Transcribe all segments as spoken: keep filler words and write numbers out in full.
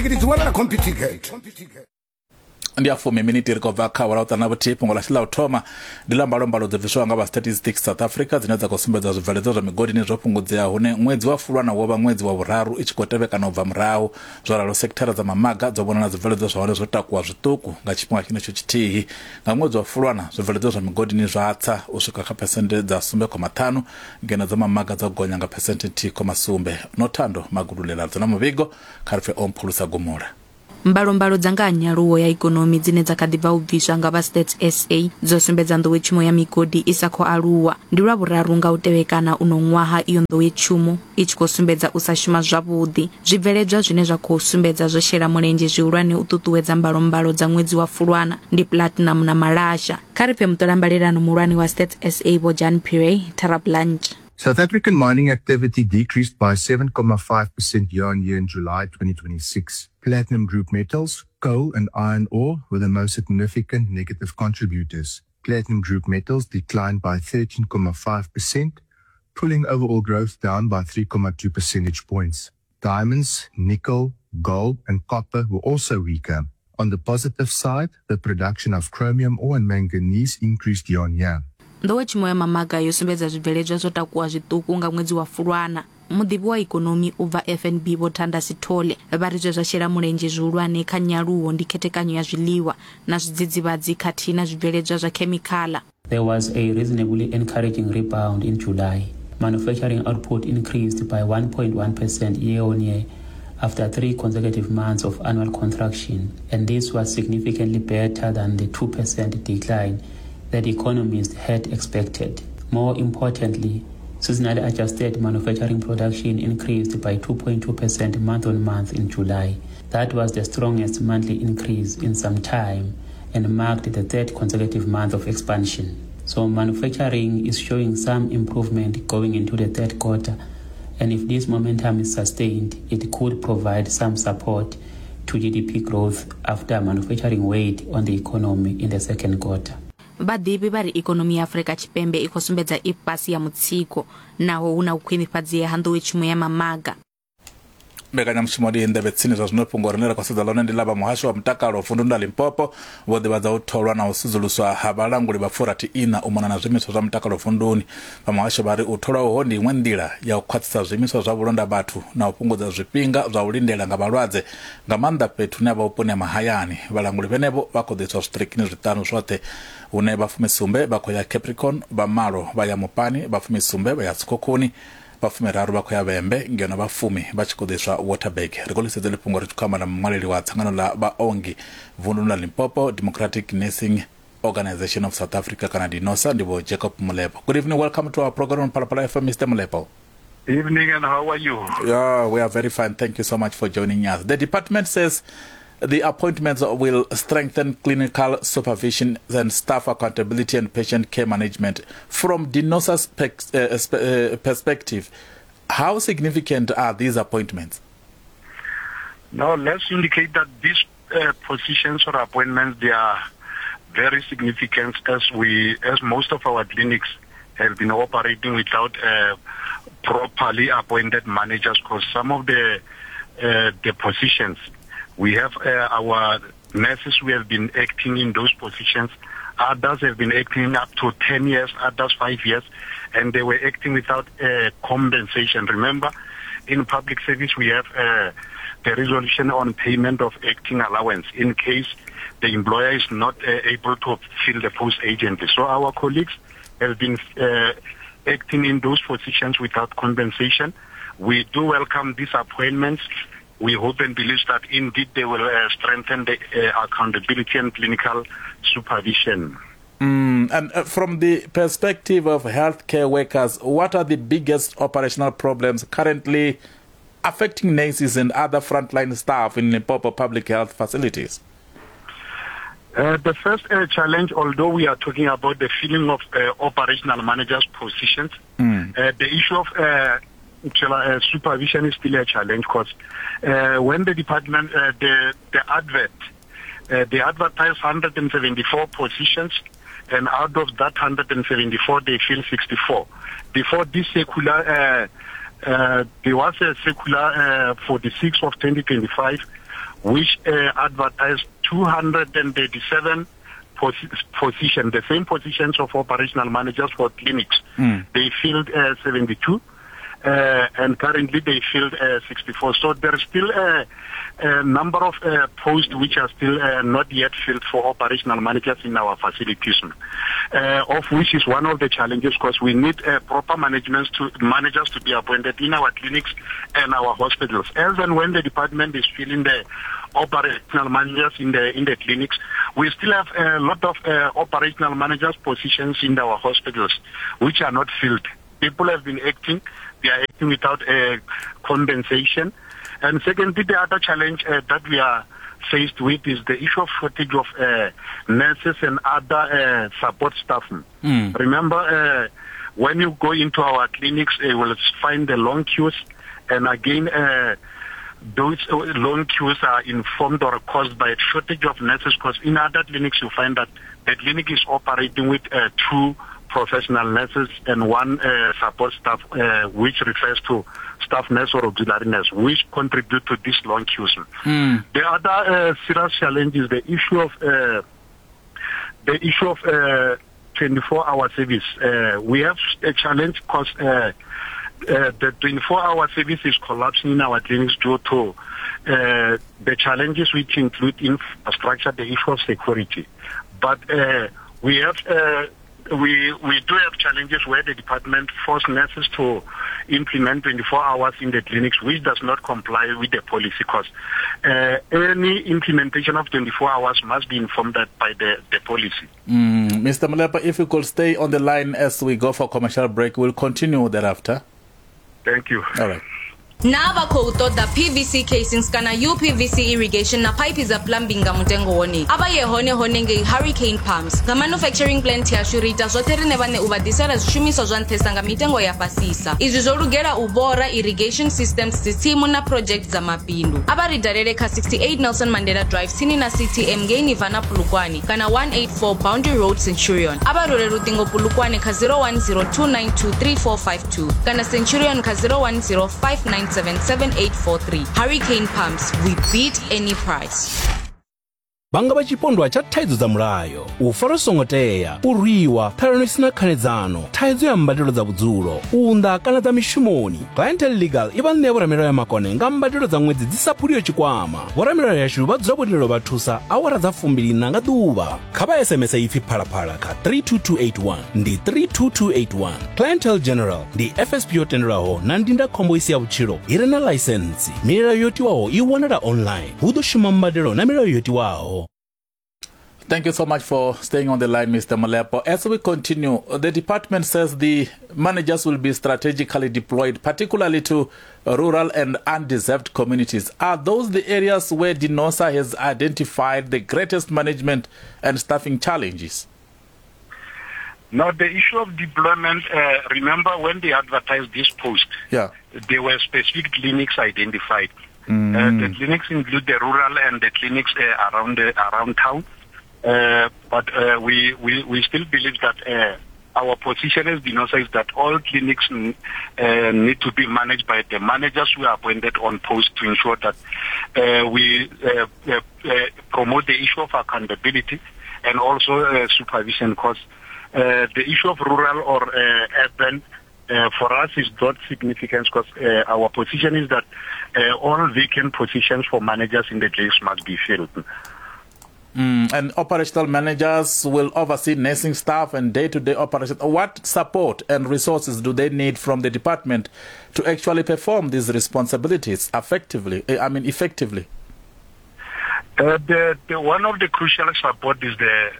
Tigiri dzi wanala Computicket. Ndi a fumi miniti ri khou bva kha awara u ṱana vhuthihi. Fhungo ḽashu ḽa u thoma ndi ḽa mbalombalo dzo bviswaho nga vha Statistics South Africa dzine dza khou sumbedza zwibveledzwa zwa migodini zwo fhungudzea, hune ṅwedzi wa Fulwana wo vha ṅwedzi wa vhuraru i tshi khou tevhekana u bva murahu. Zwo ralo sekithara dza mamaga dzo vhonala zwibveledzwa zwa hone zwo takuwa zwiṱuku nga tshifhinga tshenetsho tshithihi. Nga ṅwedzi wa Fulwana zwibveledzwa zwa migodini zwa tsa u swika kha phesenthe dza sumbe khoma ṱhanu, ngeno dza mamaga dza gonya nga phesenthe nthihi khoma sumbe. Nothando Magululela dzona muvhigo kha ri pfe Omphulusa Gumula. Mbalombalo dza nga ha nyaluwo ya ikonomi dzine dza kha ḓi bva u bviswa nga vha Stats S A dzo sumbedza nḓowetshumo ya migodi i sa khou aluwa. Ndi lwa vhuraru nga u tevhekana uno ṅwaha iyo nḓowetshumo i tshi khou sumbedza u sa shuma zwavhuḓi. Zwibveledzwa zwine zwa khou sumbedza zwo shela mulenzhe zwihulwane u ṱuṱuwedza mbalombalo dza ṅwedzi wa Fulwana ndi platinum na malasha. Kha ri pfe muṱolambalelano muhulwane wa Stats S A Vho Jan Pire Terablanche. South African mining activity decreased by seven point five percent year-on-year in July twenty twenty-six. Platinum group metals, coal and iron ore were the most significant negative contributors. Platinum group metals declined by thirteen point five percent, pulling overall growth down by three point two percentage points. Diamonds, nickel, gold and copper were also weaker. On the positive side, the production of chromium ore and manganese increased year-on-year. Nḓowetshumo ya mamaga yo sumbedza zwibveledzwa zwo takuwa zwiṱuku nga ṅwedzi wa Fulwana. Muḓivhi wa ikonomi u bva F N B Vho Thanda Sithole vha ri zwe zwa shela mulenzhe zwihulwane kha nyaluwo ndi khethekanyo ya zwiḽiwa na zwidzidzivhadzi khathihi na zwibveledzwa zwa khemikhala. There was a reasonably encouraging rebound in July. Manufacturing output increased by one point one percent year on year after three consecutive months of annual contraction, and this was significantly better than the two percent decline that economists had expected. More importantly, seasonally adjusted manufacturing production increased by two point two percent month on month in July. That was the strongest monthly increase in some time and marked the third consecutive month of expansion. So manufacturing is showing some improvement going into the third quarter, and if this momentum is sustained, it could provide some support to G D P growth after manufacturing weighed on the economy in the second quarter. Vhaḓivhi vha ri ikonomi ya Afrika Tshipembe i khou sumbedza i fhasi ya mutsiko naho hu na u khwinifhadzea ha nḓowetshumo ya mamaga. Mbekanyamushumo ndi nḓevhe tsini zwa zwino. Fhungo rine ra khou sedza ḽone ndi ḽa vha muhasho wa mutakalo vunduni ḽa Limpopo vho ḓivhadza u tholwa na u sudzuluswa ha vhalanguli vha furathi ina u mona na zwiimiswa zwa mutakalo vunduni. Vha muhasho vha ri u tholwa uho ndi iṅwe nḓila ya u khwaṱhisa zwiimiswa zwa vhulonda vhathu na u fhungudza zwifhinga zwa u lindela nga vhalwadze, nga maanḓa fhethu hune ha vha vhuponi ha mahayani. Vhalanguli vhenevho vha khou ḓiswa zwiṱirikini zwiṱanu zwoṱhe, hune vha fumisumbe vha khou ya Capricorn, vha malo vha ya Mopani, vha fumisumbe vha ya Tshikhukhuni, vha fumiraru vha khou ya Vhembe, ngeno vha fumi vha tshi khou ḓiswa Waterberg. Ri khou lisedza ḽifhungo ri tshi khou amba na muṅwaleli wa dzangano ḽa vhaongi vunduni ḽa Limpopo, Democratic Nursing Organization of South Africa kana DINOSA, ndi Vho Jacob Molepo. Good evening, welcome to our program on Phalaphala F M, Mister Molepo. Evening, and how are you? Yeah, we are very fine. Thank you so much for joining us. The department says the appointments will strengthen clinical supervision and staff accountability and patient care management. From DINOSA's pe- uh, perspective, how significant are these appointments? Now, let's indicate that these uh, positions or appointments, they are very significant, as we, as most of our clinics have been operating without uh, properly appointed managers, because some of the uh, the positions, we have uh, our nurses who have been acting in those positions. Others have been acting up to ten years, others five years, and they were acting without uh, compensation. Remember, in public service, we have uh, the resolution on payment of acting allowance in case the employer is not uh, able to fill the post agently. So our colleagues have been uh, acting in those positions without compensation. We do welcome these appointments. We hope and believe that indeed they will uh, strengthen the uh, accountability and clinical supervision. Mm, and uh, from the perspective of healthcare workers, what are the biggest operational problems currently affecting nurses and other frontline staff in Limpopo public health facilities? Uh, the first uh, challenge, although we are talking about the filling of uh, operational managers' positions, mm. uh, the issue of uh, uh, supervision is still a challenge, because uh, when the department, uh, the, the advert, uh, they advertise one hundred seventy-four positions, and out of that one hundred seventy-four, they fill sixty-four. Before this circular, uh, uh, there was a circular uh, forty-six of twenty twenty-five, which uh, advertised two hundred thirty-seven posi- positions, the same positions of operational managers for clinics. Mm. They filled uh, seventy-two. Uh, and currently they filled uh, sixty-four. So there is still a, a number of uh, posts which are still uh, not yet filled for operational managers in our facilities, uh, of which is one of the challenges, because we need uh, proper management to, managers to be appointed in our clinics and our hospitals. As and when the department is filling the operational managers in the in the clinics, we still have a lot of uh, operational managers positions in our hospitals which are not filled. People have been acting. They are acting without uh, compensation. And secondly, the other challenge uh, that we are faced with is the issue of shortage of uh, nurses and other uh, support staff. Mm. Remember, uh, when you go into our clinics, you will find the long queues. And again, uh, those long queues are informed or caused by a shortage of nurses, because in other clinics you find that the clinic is operating with uh, two professional nurses and one uh, support staff, uh, which refers to staff nurse or auxiliary nurse, which contribute to these long queues. Mm. The other uh, serious challenge is the issue of uh, the issue of uh, twenty-four hour service. Uh, we have a challenge because uh, uh, the twenty-four hour service is collapsing in our clinics due to uh, the challenges which include infrastructure, the issue of security. But uh, we have uh, We we do have challenges where the department forced nurses to implement twenty-four hours in the clinics, which does not comply with the policy, because uh, any implementation of twenty-four hours must be informed by the, the policy. Mm, Mister Molepo, if you could stay on the line as we go for commercial break, we'll continue thereafter. Thank you. All right. Na vha khou ṱoḓa P V C casings kana U P V C irrigation na pipe dza plumbing nga mutengo wone. A vha ye hone hone ngei Hurricane Pumps. Nga manufacturing plant yashu ri ita zwoṱhe rine vhane u vha ḓisela zwishumiswa zwa nṱhesa nga mitengo ya fhasisa. Izwi zwo lugela u bora irrigation systems, dzitsimu na project dza mabindu. A vha ri dalele kha sixty-eight Nelson Mandela Drive tsini na C T M ngei Nirvana Polokwane kana one eighty-four Boundary Road Centurion. A vha rwele luṱingo Polokwane kha zero one zero two nine two three four five two kana Centurion kha zero one zero five nine seven seven eight four three. Hurricane Pumps, we beat any price. Vha nga vha tshipondwa tsha thaidzo dza mulayo, u farwa songo tea, u rwiwa, ṱhalano isina khanedzano, thaidzo ya mbadelo dza vhudzulo, u unḓa kana dza mishumoni. Clientele Legal i vha ṋea vhoramilayo ya makone nga mbadelo dza ṅwedzi dzi sa phuliho tshikwama. Vhoramilayo yashu vha dzula vho lindela vha thusa awara dza fumbiliṋa nga ḓuvha. Kha vha S M S ipfi phalaphala kha three two two eight one, ndi three two two eight one. Clientele General ndi F S P yo tendelwaho na ndindakhombo isi ya vhutshilo i re na ḽaisentsi. Milayo yo tiwaho i wanala online. Hu ḓo shuma mbadelo na milayo yo tiwaho. Thank you so much for staying on the line, Mister Molepo. As we continue, the department says the managers will be strategically deployed, particularly to rural and undeserved communities. Are those the areas where DENOSA has identified the greatest management and staffing challenges? Now, the issue of deployment, uh, remember when they advertised this post, yeah, there were specific clinics identified. Mm. Uh, the clinics include the rural and the clinics uh, around, the, around town. Uh, but uh, we, we, we still believe that uh, our position as DENOSA is that all clinics n- uh, need to be managed by the managers who are appointed on post to ensure that uh, we uh, uh, uh, promote the issue of accountability and also uh, supervision, because uh, the issue of rural or uh, urban uh, for us is not significant, because uh, our position is that uh, all vacant positions for managers in the clinics must be filled. Mm, and operational managers will oversee nursing staff and day-to-day operations. What support and resources do they need from the department to actually perform these responsibilities effectively? I mean, effectively? Uh, the, the one of the crucial support is the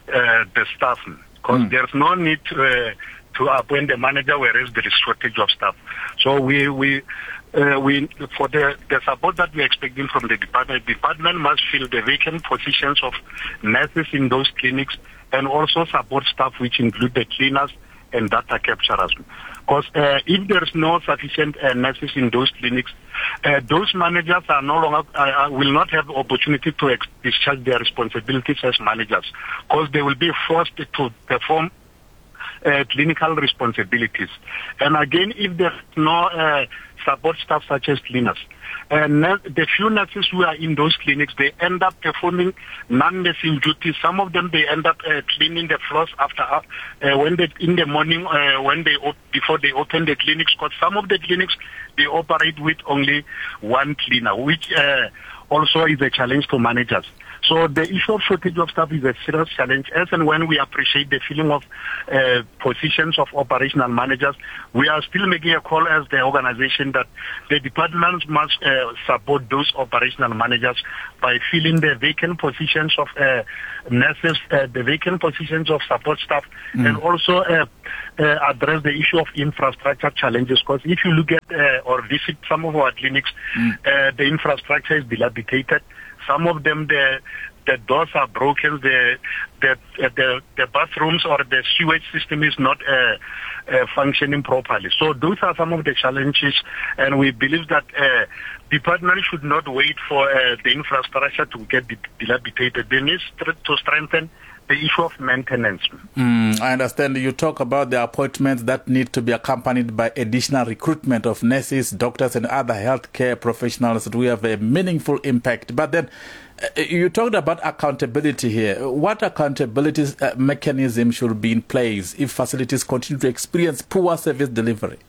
uh, the staff, because mm. there's no need to, uh, to appoint the manager whereas there is shortage of staff. So we we. Uh, we for the, the support that we're expecting from the department, the department must fill the vacant positions of nurses in those clinics and also support staff, which include the cleaners and data capturers. Because uh, if there is no sufficient uh, nurses in those clinics, uh, those managers are no longer uh, will not have opportunity to ex- discharge their responsibilities as managers, because they will be forced to perform uh, clinical responsibilities. And again, if there's no uh, support staff such as cleaners, and the few nurses who are in those clinics, they end up performing non-nursing duties. Some of them, they end up uh, cleaning the floors after uh, when they in the morning uh, when they op- before they open the clinics. Because some of the clinics, they operate with only one cleaner, which uh, also is a challenge to managers. So the issue of shortage of staff is a serious challenge. As and when we appreciate the filling of uh, positions of operational managers, we are still making a call as the organization that the departments must uh, support those operational managers by filling the vacant positions of uh, nurses, uh, the vacant positions of support staff, mm. and also uh, uh, address the issue of infrastructure challenges. Because if you look at uh, or visit some of our clinics, mm. uh, the infrastructure is dilapidated. Some of them, the the doors are broken, the the the, the bathrooms or the sewage system is not uh, uh, functioning properly. So those are some of the challenges, and we believe that uh, department should not wait for uh, the infrastructure to get dilapidated. They need to strengthen the issue of maintenance. Mm, I understand you talk about the appointments that need to be accompanied by additional recruitment of nurses, doctors and other healthcare professionals to have a meaningful impact. But then uh, you talked about accountability here. What accountability uh, mechanism should be in place if facilities continue to experience poor service delivery?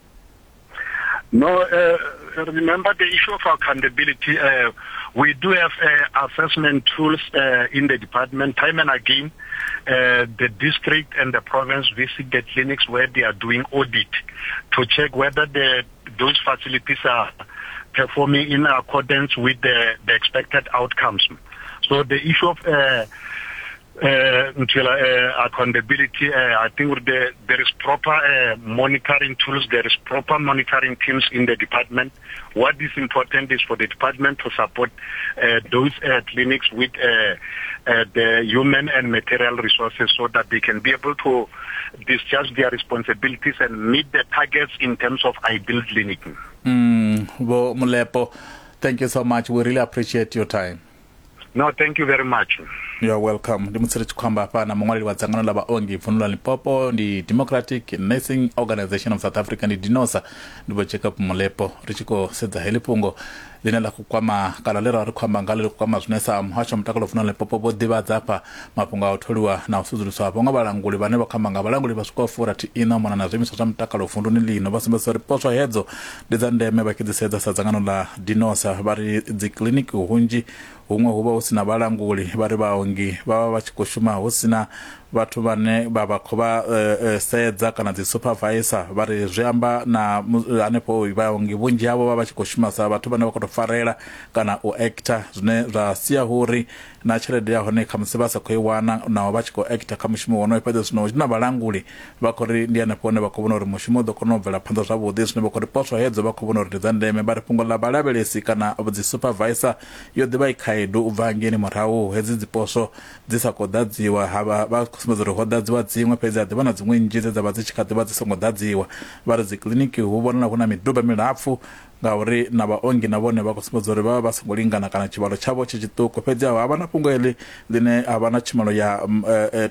No, uh, remember the issue of accountability. Uh, we do have uh, assessment tools uh, in the department. Time and again, uh, the district and the province visit the clinics where they are doing audit to check whether the, those facilities are performing in accordance with the, the expected outcomes. So the issue of uh, Uh, until uh, accountability, uh, I think the, there is proper uh, monitoring tools, there is proper monitoring teams in the department. What is important is for the department to support uh, those uh, clinics with uh, uh, the human and material resources so that they can be able to discharge their responsibilities and meet the targets in terms of ideal clinic. Mm, Bo Molepo, thank you so much. We really appreciate your time. No, thank you very much. You're welcome. Ndi musi ri tshi khou amba hafha na muṅwaleli wa dzangano ḽa vhaongi vundu ḽa Limpopo, ndi Democratic Nursing Organization of South Africa, ndi DENOSA, ndi Vho Jacob Molepo. Ri tshi khou sedza heḽi fhungo ḽine ḽa khou kwama kana ḽe ra ri khou amba ngalo ḽi khou kwama zwine sa muhasho wa mutakalo vundu ḽa Limpopo vho ḓivhadza hafha mafhungo a u tholiwa na u sudzuluswa hafho nga vhalanguli vhane vha khou amba nga vhalanguli vha swikaho furathi ina u mona na zwiimiswa zwa mutakalo vunduni ḽino. Vha sumbedzisa uri poswo hedzo ndi dza ndeme vha tshi dzi sedza sa dzangano ḽa DENOSA. Vha ri dzi kiḽiniki hunzhi huṅwe hu vha hu sina vhalanguli, vha ri vhaongi vha vha vha tshi khou shuma hu sina vhathu vhane vha vha khou vha uh, sedza kana dzi supervisor. Vha ri zwi amba na hanefho vhaongi vhunzhi havho vha vha tshi khou shuma sa vhathu vhane vha khou tou farela kana u actor, zwine zwa sia uri na tshelede ya hone khamusi vha sa khou i wana naho vha tshi khou actor kha mushumo wonoyo. Fhedzi zwino na vhalanguli vha khou ri ndi hanefho hone vha khou vhona uri mushumo u ḓo kona u bvela phanḓa zwavhuḓi, zwine vha khou ri poswo hedzo vha khou vhona uri ndi dza ndeme. Vha ri fhungo ḽa vhalavhelesi kana dzi supervisor yo ḓivha i khaedu u bva hangeini murahu hedzi dzi poswo dzi sa khou ḓadziwa, havha vha khou sumbedza uri ho ḓadziwa dziṅwe fhedzi ha ḓivha na dziṅwe nnzhi dze dza vha dzi tshi kha ḓivha dzi songo ḓadziwa. Vha ri dzi kiḽiniki hu vhonala hu na miduba milapfu ngauri na vhaongi na vhone vha khou sumbedza uri vha vha vha songo lingana kana tshivhalo tshavho tshi tshiṱuku. Fhedzi ha vha na fhungo heḽi ḽine ha vha na tshumelo ya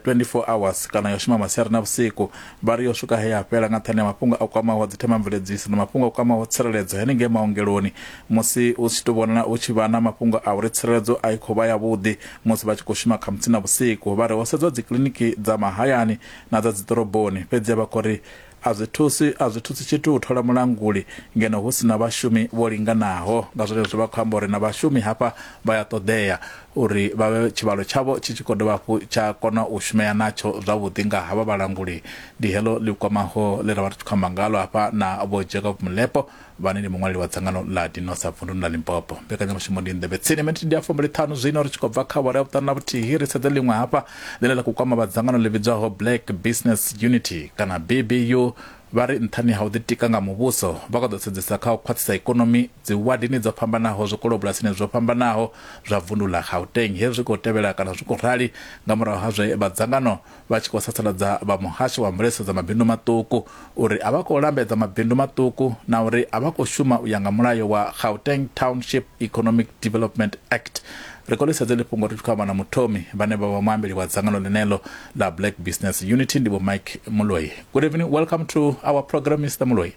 twenty-four hours kana yo shuma masiari na vhusiku. Vha ri yo swika he ya fhela nga nṱhani ha mafhungo a kwamaho dzi themamveledziso na mafhungo a kwamaho tsireledzo henengei maongeloni, musi u tshi tou vhonala u tshi vha na mafhungo a uri tsireledzo a i khou vha yavhuḓi musi vha tshi khou shuma khamusi na vhusiku. Vha ri ho sedzwa dzi kiḽiniki dza mahayani na dza dzi ḓoroboni, fhedzi vha khou ri a zwi thusi a zwi thusi tshithu u thola mulanguli ngeno hu sina vhashumi vho linganaho. Nga zwenezwo vha khou amba uri na vhashumi hafha vha ya ṱoḓea uri vha vhe tshivhalo tshavho tshi tshi khou dovha hafhu tsha kona u shumea natsho zwavhuḓi nga havha vhalanguli. Ndi heḽo ḽi kwamaho ḽe ra vha ri tshi khou amba ngalo hafha na Vho Jacob Molepo vhane ndi muṅwaleli wa dzangano ḽa DENOSA vunduni ḽa Limpopo. Mbekanyamushumo ndi Nḓevhe Tsini, miniti ndi ya fumbili ṱhanu zwino ri tshi khou bva kha awara ya vhuṱanu na vhuthihi. Ri sedze ḽiṅwe hafha ḽine ḽa khou kwama vha dzangano ḽi vhidzwaho Black Business Unity kana B B U. Vha ri nṱhani ha u ḓitika nga muvhuso vha khou ḓo sedzesa kha u khwaṱhisa ikonomi dzi wadini dzo fhambanaho, zwikolobulasini zwo fhambanaho zwa vundu ḽa Gauteng. Hezwi zwi khou tevhela kana zwi khou rali nga murahu ha zwe vha dzangano vha tshi khou sasaladza vha muhasho wa mveledziso dza mabindu maṱuku uri a vha khou lambedza mabindu maṱuku na uri a vha khou shuma u ya nga mulayo wa Gauteng Township Economic Development Act. Ri khou ḽi sedza ḽi fhungo ri tshi khou amba na muthomi vhane vha vha muambeli wa dzangano ḽeneḽo ḽa Black Business Unity, ndi Vho Mike Moloi. Good evening, welcome to our program, Mister Moloi.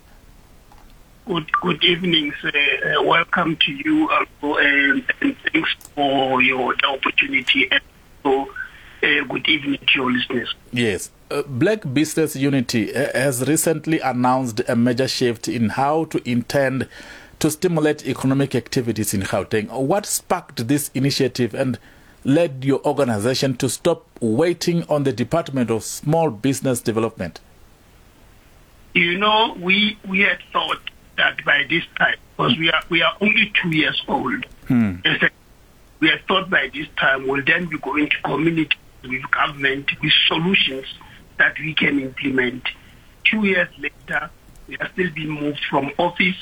Good, good evening, sir. Uh, welcome to you also, and, and thanks for your the opportunity. And so, uh, good evening to your listeners. Yes. Uh, Black Business Unity uh, has recently announced a major shift in how to intend to stimulate economic activities in Gauteng. What sparked this initiative and led your organization to stop waiting on the Department of Small Business Development? You know, we, we had thought that by this time, because we are, we are only two years old, Hmm. we had thought by this time we'll then be going to community with government with solutions that we can implement. Two years later, we are still being moved from office,